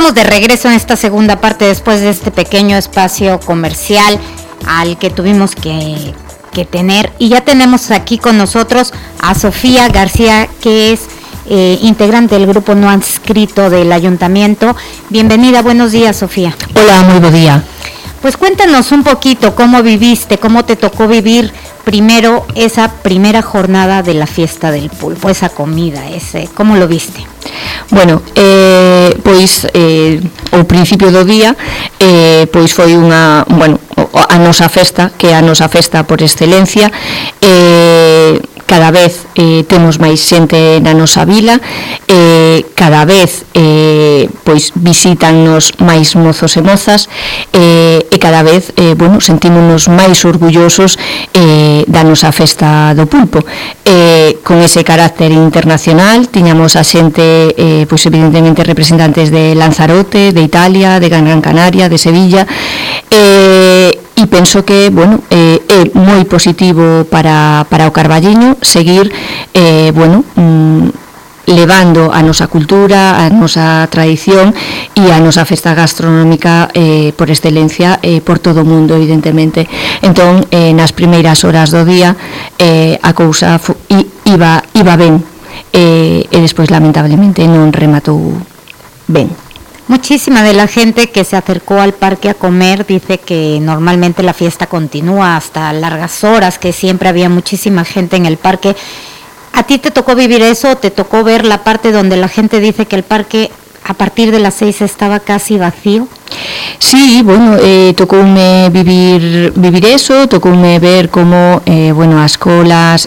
estamos de regreso en esta segunda parte después de este pequeño espacio comercial al que tuvimos que tener. Y ya tenemos aquí con nosotros a Sofía García, que es integrante del grupo no adscrito del ayuntamiento. Bienvenida, buenos días, Sofía. Hola, muy buen día. Pues cuéntanos un poquito cómo viviste, cómo te tocó vivir primero esa primera jornada de la fiesta del pulpo, esa comida, ¿cómo lo viste? Bueno, pois ao principio do día pois foi a nosa festa, que é a nosa festa por excelencia. Cada vez temos máis xente na nosa vila, cada vez pois visítannos máis mozos e mozas, e cada vez sentímonos máis orgullosos da nosa festa do pulpo. Con ese carácter internacional tiñamos a xente pois evidentemente representantes de Lanzarote, de Italia, de Gran Canaria, de Sevilla, e penso que é moi positivo para o Carballiño seguir levando a nosa cultura, a nosa tradición e a nosa festa gastronómica por excelencia por todo o mundo, evidentemente. Entón, nas primeiras horas do día a cousa iba ben, e despois lamentablemente non rematou ben. Muchísima de la gente que se acercó al parque a comer dice que normalmente la fiesta continúa hasta largas horas, que siempre había muchísima gente en el parque. ¿A ti te tocó vivir eso o te tocó ver la parte donde la gente dice que el parque a partir de las 6 estaba casi vacío? Sí, tocoume vivir eso, tocoume ver como as colas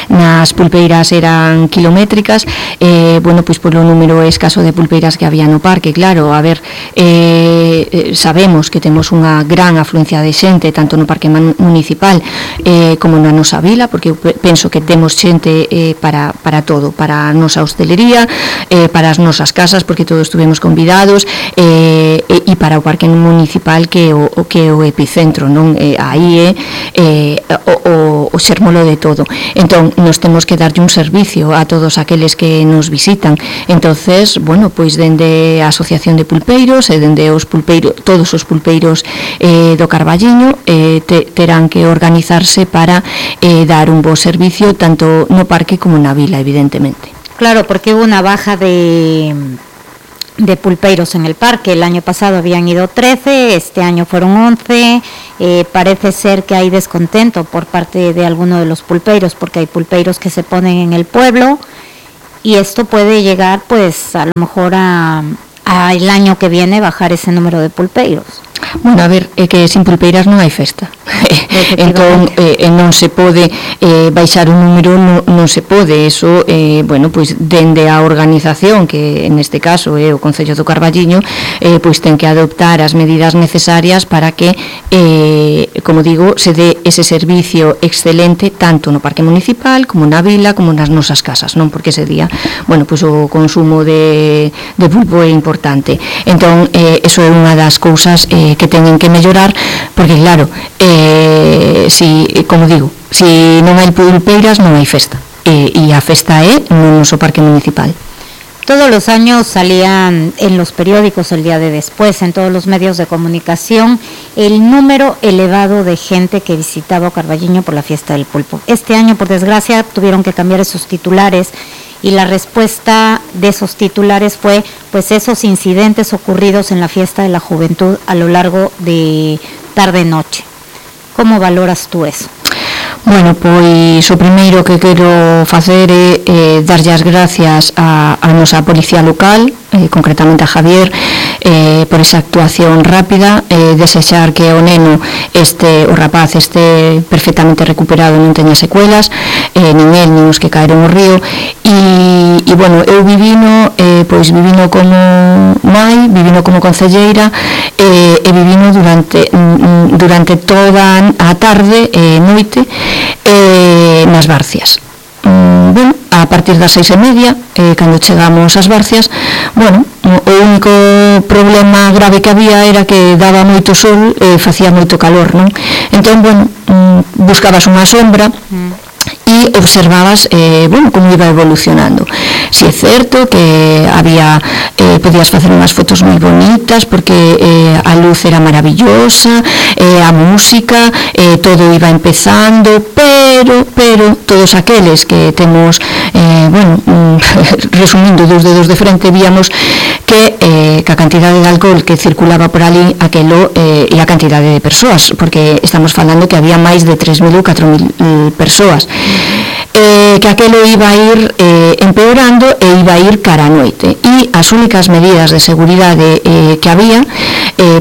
nas pulpeiras eran kilométricas, pois polo número escaso de pulpeiras que había no parque. Claro, a ver, sabemos que temos unha gran afluencia de xente tanto no parque municipal como na nosa vila, porque eu penso que temos xente para todo, para a nosa hostelería, para as nosas casas, porque todos estuvemos convidados, e para o parque municipal que é o epicentro, non? Aí é o xermolo de todo. Entón, nos temos que darlle un servicio a todos aqueles que nos visitan. Entonces, pois dende a Asociación de Pulpeiros e dende todos os pulpeiros do Carballiño terán que organizarse para dar un bo servicio tanto no parque como na vila, evidentemente. Claro, porque hubo una baja de pulpeiros en el parque. El año pasado habían ido 13, este año fueron 11. Parece ser que hay descontento por parte de alguno de los pulpeiros, porque hay pulpeiros que se ponen en el pueblo y esto puede llegar pues a lo mejor a el año que viene bajar ese número de pulpeiros. Bueno, a ver, é que sin pulpeiras non hai festa. Entón, non se pode baixar un número, non se pode. Eso, pois dende a organización, que neste caso é o Concello do Carballiño, pois ten que adoptar as medidas necesarias para que, como digo, se dé ese servicio excelente tanto no parque municipal como na vila, como nas nosas casas, non? Porque ese día, pois o consumo de pulpo é importante. Entón, eso é unha das cousas que teñen que mellorar, porque claro, como digo, si non hai pulpeiras non hai festa, e a festa é no noso parque municipal. Todos los años salían en los periódicos el día de después, en todos los medios de comunicación, el número elevado de gente que visitaba Carballiño por la fiesta del pulpo. Este año, por desgracia, tuvieron que cambiar esos titulares y la respuesta de esos titulares fue pues esos incidentes ocurridos en la fiesta de la juventud a lo largo de tarde-noche. ¿Cómo valoras tú eso? Bueno, pois o primeiro que quero facer é darlle as gracias a nosa policía local, concretamente a Javier, por esa actuación rápida, desexar que o neno o rapaz este perfectamente recuperado, non teña secuelas, nin el, nin os que caeron ao río, e eu vivino como nai, vivino como concelleira, e vivino durante toda a tarde e noite nas Barcias. A partir das 6:30, cando chegamos ás Barcias, o único problema grave que había era que daba moito sol e facía moito calor, non? Entón, buscabas unha sombra e observabas como iba evolucionando. Si é certo que podías facer unhas fotos moi bonitas porque a luz era maravillosa, a música, todo iba empezando, pero todos aqueles que temos resumindo dos dedos de frente, víamos que a cantidade de alcohol que circulaba por ali aquelo e a cantidade de persoas, porque estamos falando que había máis de 3.000 ou 4.000 persoas, que aquelo iba a ir empeorando e iba a ir cara a noite, e as únicas medidas de seguridade que había,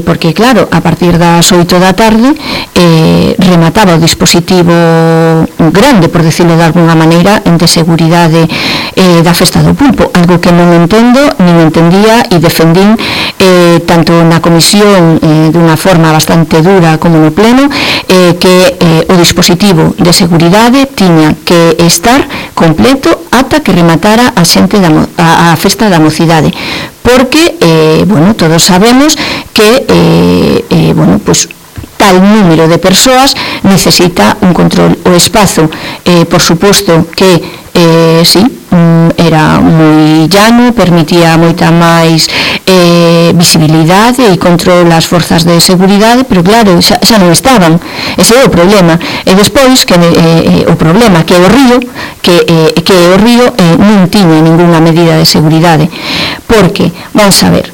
porque claro, a partir das 8 da tarde remataba o dispositivo grande, por decirlo de alguna maneira, de seguridade da Festa do Pulpo, algo que non entendo, nin entendía e defendín tanto na comisión dunha forma bastante dura como no pleno, que o dispositivo de seguridade tiña que estar completo ata que rematara a xente a Festa da Mocidade, porque todos sabemos que tal número de persoas necesita un control. O espazo, por suposto que era moi llano, permitía moita máis visibilidade e control ás forzas de seguridade, pero claro, xa non estaban. Ese é o problema. E despois, o problema que o río non tiña ninguna medida de seguridade, porque, vamos a ver,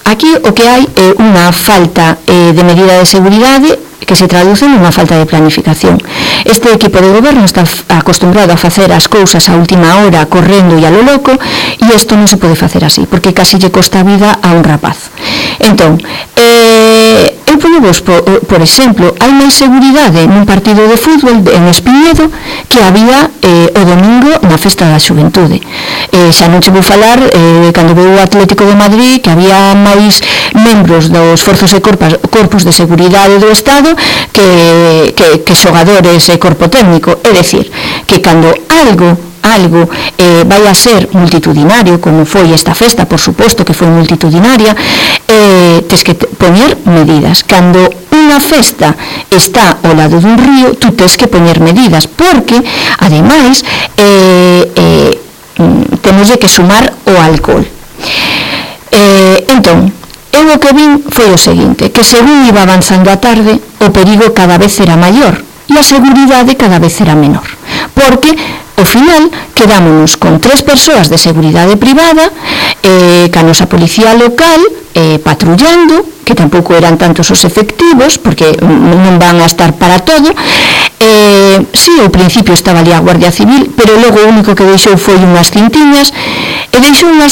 aquí o que hai é unha falta de medida de seguridade que se traduce nunha falta de planificación. Este equipo de goberno está acostumbrado a facer as cousas a última hora, correndo e a lo loco, e isto non se pode facer así, porque casi lle costa a vida a un rapaz. Entón, eu ponevos, por exemplo, hai máis seguridade nun partido de fútbol en Espiñedo que había o domingo na Festa da Xuventude. Xa non che vou falar cando veu o Atlético de Madrid, que había máis membros dos forzos e corpos de seguridade do Estado que xogadores e corpo técnico. É dicir, que cando algo vai a ser multitudinario, como foi esta festa, por suposto que foi multitudinaria, tes que poñer medidas. Cando unha festa está ao lado dun río, tú tes que poñer medidas, porque, ademais, temos que sumar o alcohol. Entón, eu o que vin foi o seguinte, que según iba avanzando a tarde, o perigo cada vez era maior e a seguridade cada vez era menor, porque ao final quedámonos con 3 persoas de seguridade privada, ca nosa policía local patrullando, que tampouco eran tantos os efectivos, porque non van a estar para todo. Ao principio estaba ali a Guardia Civil, pero logo o único que deixou foi unhas cintiñas, e deixou unhas